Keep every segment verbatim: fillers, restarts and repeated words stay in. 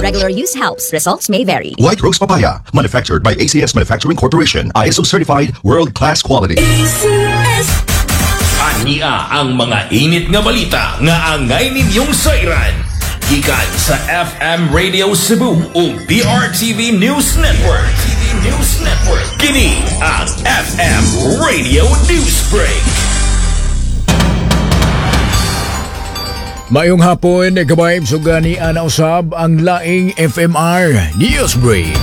Regular use helps. Results may vary. White Rose Papaya, manufactured by A C S Manufacturing Corporation, I S O certified, world-class quality. Ania ang mga init nga balita nga angay ninyong sayran. Gikan sa F M Radio Cebu ug B R T V News Network. T V News Network. Kini ang F M Radio News Break. Maayong hapon, ka-vibes, ug gani ana usab ang laing F M R News Break.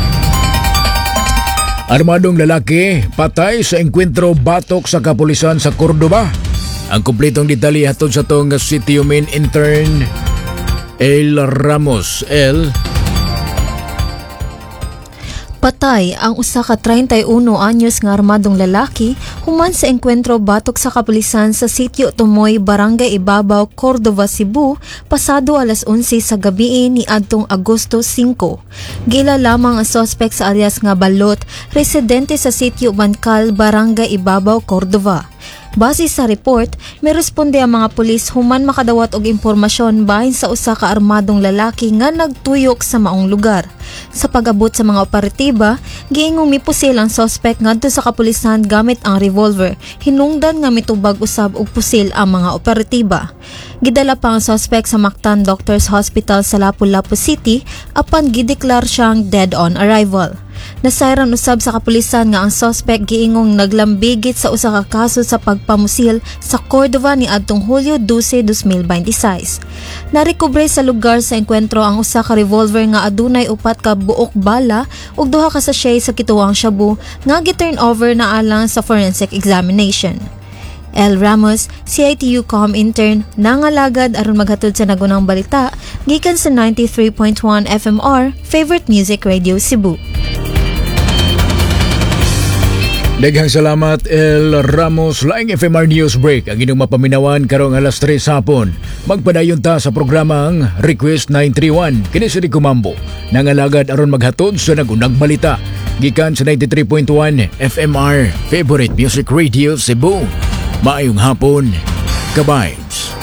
Armadong lalaki patay sa engkwentro batok sa kapulisan sa Cordova. Ang kumpletong detalye hatod sa atong City Main Intern El Ramos. El. Patay ang usa ka trenta'y uno anyos nga armadong lalaki human sa engkwentro batok sa kapulisan sa Sitio Tumoy, Barangay Ibabaw, Cordova, Cebu, pasado alas onse sa gabi ni adtong Agosto singko. Gila lamang ang suspect sa alias nga Balot, residente sa Sitio Bancal, Barangay Ibabaw, Cordova. Base sa report, may responde ang mga pulis human makadawat og impormasyon bahin sa usa ka armadong lalaki nga nagtuyok sa maong lugar. Sa pag-abot sa mga operatiba, giingong mipusil ang suspect ngadto sa kapulisan gamit ang revolver. Hinungdan nga mitubag usab og pusil ang mga operatiba. Gidala pa ang suspect sa Mactan Doctors Hospital sa Lapu-Lapu City apan gideklar siyang dead on arrival. Nasayran usab sa kapulisan nga ang suspect giingong naglambigit sa usa ka kaso sa pagpamusil sa Cordova ni adtong Hulyo dose, dalawang libo bente sais. Narekobre sa lugar sa engkwentro ang usa ka revolver nga adunay upat ka buok bala ug duha ka sachet sa kituwang shabu nga gi-turn over na alang sa forensic examination. L. Ramos, C I T U Com intern, nangalagad aron maghatod sa nagunang balita gikan sa ninety-three point one F M R, Favorite Music Radio Cebu. Daghang salamat, El Ramos. Laing F M R News Break ang inyong mapaminawan karong alas tres hapon. Magpadayon ta sa programang Request nine three one. Kini si Rico Mambo, nangalagad aron maghatod sa nagunang balita gikan sa ninety-three point one F M R, Favorite Music Radio Cebu. Maayong hapon, ka-vibes.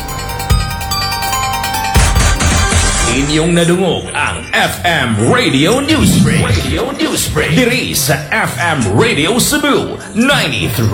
Inyong nadungog ang F M Radio News Break. Radio News Break. Diri sa F M Radio Cebu ninety-three